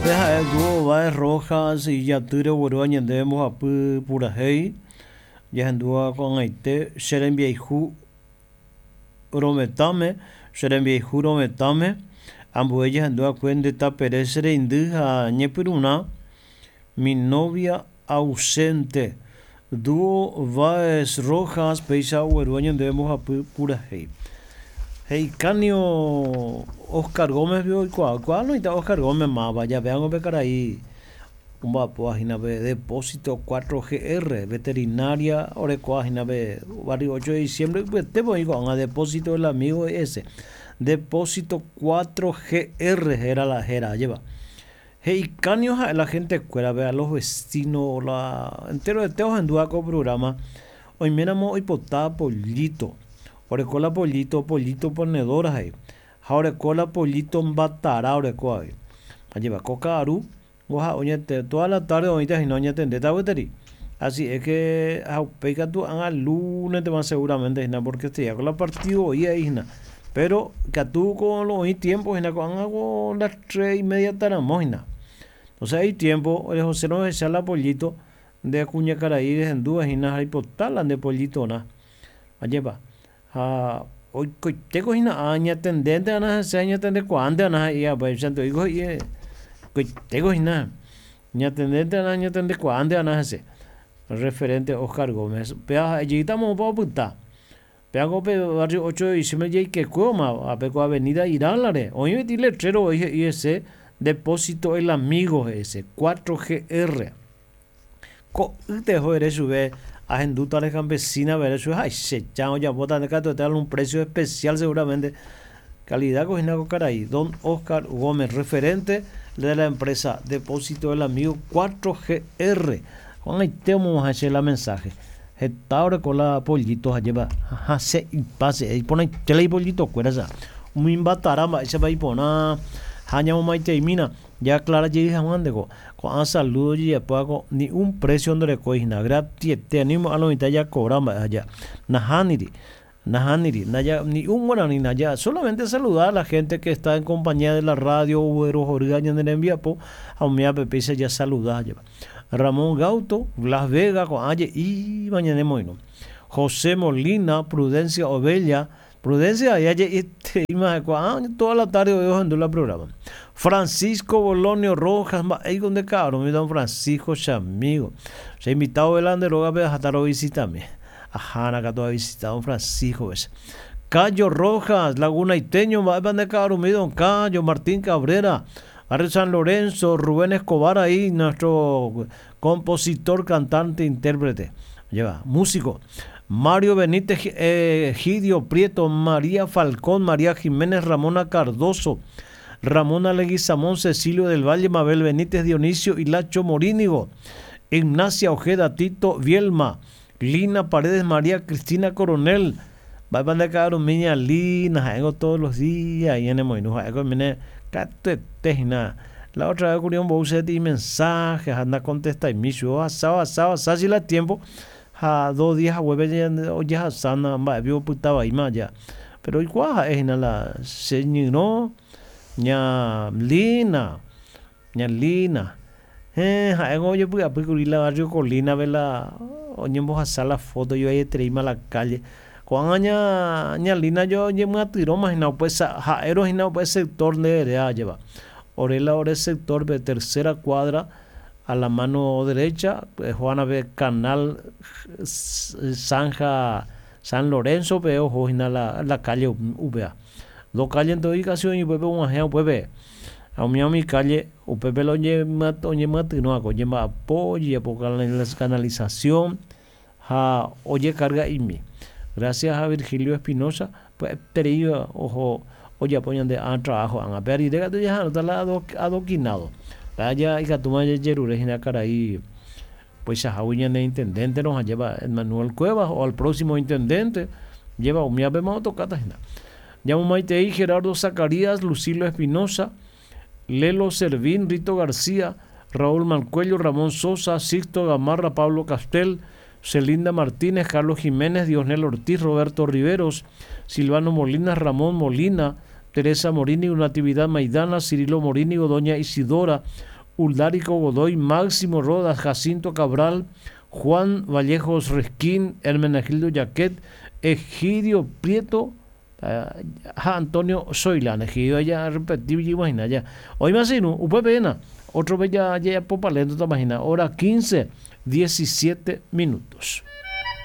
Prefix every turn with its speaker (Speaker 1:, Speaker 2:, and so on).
Speaker 1: Pe ha'e dúo Báez Rojas ijatýre oguerúva ñandéve mbohapy purahéi, jahendúva ko'ag̃aite che rembiayhu rovetãme, che rembiayhu rovetãme, ambue jahendu va'ekue nde tapere che reindy ha ñepyrũrã mi novia ausente. Dúo Báez Rojas péicha oguerúva ñandéve mbohapy purahéi. He'ikánio Oscar Gómez-pe oikuaa, oikuaa noĩta Oscar Gómez máva, javéango pe karai omba'apóva hína pe Depósito 4GR, veterinaria orekóva hína pe barrio 8 de diciembre ypyetépe oĩ ko'ág̃a Depósito del Amigo ese. Depósito 4GR héra la héra, ajépa. He'ikánio ha'e la gentekuérape, a los vecinos, la enteroete ohendúva ko programa, oiméramo oipota pollito, oreko la pollito, pollito ponedora he'i, ha oreko la pollito mbatara oreko avei. Ajépa ko ka'aru oha oñete toda la tarde oĩta hína oñatendéta gueteri. Así es que ha upéi katu ág̃a lúnetema seguramente hína porque este día ko la partido voi aĩ hína. Pero ikatu ko oĩ tiempo hína ko'ág̃a ko las tres y media taramo hína. Entonces hay tiempo rehosérõ ehecha la pollito nde kuñakarai rehendúva hína ha reipota la nde pollitorã. Ajépa? Ha oikoitéko hína añatendénte va'erã hese añatendekuaánte va'erã he'i upéichante oiko he'i oikoitéko hína ñatendénte va'erã añatendekuaánte va'erã hese. Referente Oscar Gómez. Upéva ha'e jeýta moõpa opyta. Péako pe barrio 8 de diciembre jaikekuévoma ápe ko avenida Irala-re. Oĩ peteĩ letrero voi he'i hese Depósito El Amigo he'i hese, 4GR. Ko'ýte oho ere chupe ahendúta ore campesina pe ere chupe ha che chã ojapóta nde katuete algún precio especial seguramente calidad ko hína ko karai don Oscar Gómez referente de la empresa Depósito del Amigo 4GR ko'ag̃aite omog̃uahẽ che la mensaje heta oreko la pollito hajépa hasẽ ipa che iporãite la ipollito kuéra cha umi mbatara mba'éichapa iporã ha ñamomaiteimína Jaaclara jey hag̃ua ndeko, ko'ã saludo ojejapóva ko ni un precio ndorekói hína, gratiete, ani oimo'ã lo mitã jakobra mba'e aja. Nahániri, nahániri, naja, ni un guarani naja, solamente saludar a la gente que está en compañía de la radio oguerohorýva ñane rembiapo ha umívape péicha jasaluda ajépa. Ramón Gauto, Blas Vega ko'ã je'íva ñanemoirũ. José Molina, Prudencia Ovella, Prudencia aja je'ietereíma ha'ekuaa toda la tarde oĩ ohendu la programa. Francisco Bolonio Rojas, mba'éiko nde ka'arũmi don Francisco chamigo. Che invitado vela nde rógape ahata rovisitami. Ahána katu avisita don Francisco-pe che. Cayo Rojas, Lagunaiteño, mba'épa nde ka'arũmi don Cayo, Martín Cabrera, Barrio San Lorenzo, Rubén Escobar ahí, nuestro Compositor, cantante, intérprete. Lleva, músico. Mario Benítez Egidio Prieto, María Falcón, María Jiménez, Ramona Cardozo, Ramona Leguizamón, Cecilio del Valle, Mabel Benítez, Dionisio Hilacho Morínigo, Ignacia Ojeda, Tito Bielma, Lina Paredes, María Cristina Coronel, Mba'épa nde ka'arumi ña Lina, ha'éngo todos los días ñanemoirũ, ha'éko oiméne katuete hína. La otra vez kuri ombou che peteĩ mensaje ha nakontestaimi chupe, ohasa, ohasa, ohasa che la tiempo ha dos días haguépe ojehasána mba'épe opyta vaíma aja. Pero oikuaa ha'e hína la che ñyrõ ña Lina. Ña Lina, Héẽ, ha'éngo ojepy'apy kuri la barrio Colina-pe la oñembohasa la foto ivaietereíma la calle. Ko'ág̃a ña ña Lina jo oñemyatyrõma hína upe ha'érõ hína upe sector nde eréva ajépa. Ore la ore sector-pe tercera cuadra a la mano derecha Juana-pe canal zanja San Lorenzo-pe oho hína la calle upéva. Dos calle-nte oĩ casi oĩ upépe og̃uahẽ upépe. Ha umi umi calle upépe la oñemyatyrõva oñemba'apo, ojejapo canalización ha ojekarga'imi. Gracias a Virgilio Espinoza pya'eterei oho ojapo ñande ã trabajo ág̃a. Pe rire katu jaha'arõta la adoquinado. Pe aja ikatúma jajerure hína karai upeichahágui ñane intendente-rõ ha jeva Edmanuel Cuevas o al próximo intendente jeva umívapema otokáta hína. Ñamomaitei Gerardo Zacarías, Lucilo Espinoza, Lelo Servín, Rito García, Raúl Mancuello, Ramón Sosa, Sixto Gamarra, Pablo Castel, Celinda Martínez, Carlos Jiménez, Diosnel Ortiz, Roberto Riveros, Silvano Molina, Ramón Molina, Teresa Morínigo, Natividad Maidana, Cirilo Morínigo, Doña Isidora, Uldarico Godoy, Máximo Rodas, Jacinto Cabral, Juan Vallejos Resquín, Hermenegildo Jaquet, Egidio Prieto, ha Antonio Zoilán. Egidio ya repetir imagina ya. Hoy más no, upépe otro vez ya ya popalento imagina. Hora 15, 17 minutos.